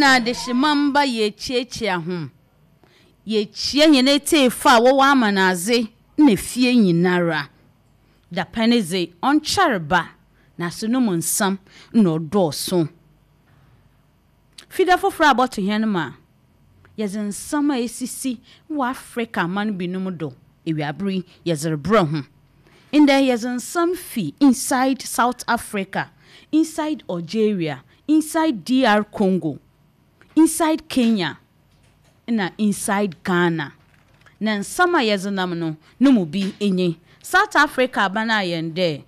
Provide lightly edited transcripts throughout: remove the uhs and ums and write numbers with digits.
Na adehyema mba yekyiakyia hom. Yekyia hɛn etsiefo a wɔwɔ amanadze na fie nyinara. Dapɛn dze, ɔnnkyɛr ba, naaso no mu nsɛm na ɔdɔɔ sõ. Fida fofor a abɔto hɛn ma yɛdze nsɛm a esisi wɔ Africa aman binom do ewiaber yi yɛdze rebrɛ ho. Ndɛ yɛdze nsɛm fi inside South Africa, inside Algeria, inside DR Congo, inside Kenya na inside Ghana. Na nsɛm a yɛdze nam no, no mu bi nye, South Africa aban ayɛ no dɛ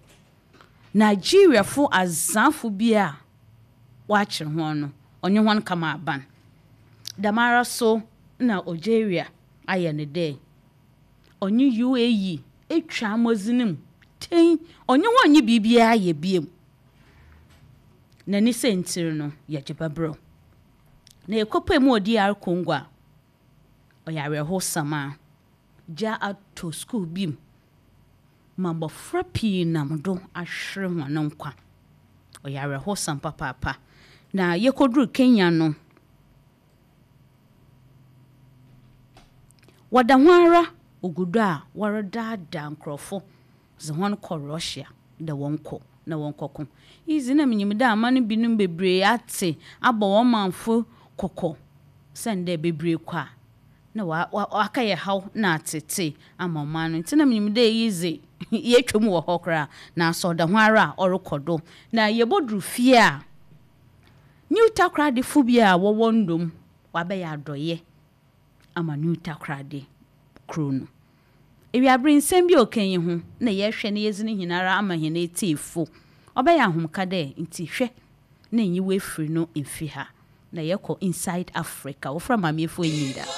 Nigeriafo adzafo bi a wɔakyer hɔn no, ɔnye hɔn kama aban. Dɛmara so na Algeria ayɛ no dɛ ɔnye UAE etwa amɔdzen mu tɛnn, ɔnye hɔn nnyi biribiara yɛ bio. Na ne siantsir no yɛgye bɛberɛw. Na yɛkɔpuee mu wɔ DR Congo a, ɔyɛ awerɛhowsɛm a gya atɔ skuul bi mu ma mbofra pii nam do ahwer hɔn nkwa. Ɔyɛ awerɛhowsɛm papaapa. Na yekodur Kenya no, wɔda ho ara wogu do a wɔredaadaa nkorɔfo dze hɔn kɔ Russia dɛ wɔnkɔ na wɔnkɔko. Iyi dze nna minyim dɛ aman binom beberee atse abɔ hɔn mamfo kɔkɔ osiandɛ beberee kɔ a nna ɔakɛyɛ haw na atseetsee ama ɔman no. Ntsi nna minyim dɛ iyi dze yeetwa mu wɔ hɔ koraa, naaso ɔda ho ara a ɔrokɔ do. Na yebodur fie a, New Takoradifo bi a wɔwɔ Ndom wɔabɛyɛ adɔyɛ ama New Takoradi kurow no. Ewiaber nsɛm bi a ɔkã yi ho na yɛhwɛ na yedzi no nyinara ama hɛn etsiefo. Ɔbɛyɛ ahomka dɛ ntsi hwɛ na nyi w'efir no mfi ha na yɛkɔ inside Africa. Wɔfrɛ Maame Efua Enyinda.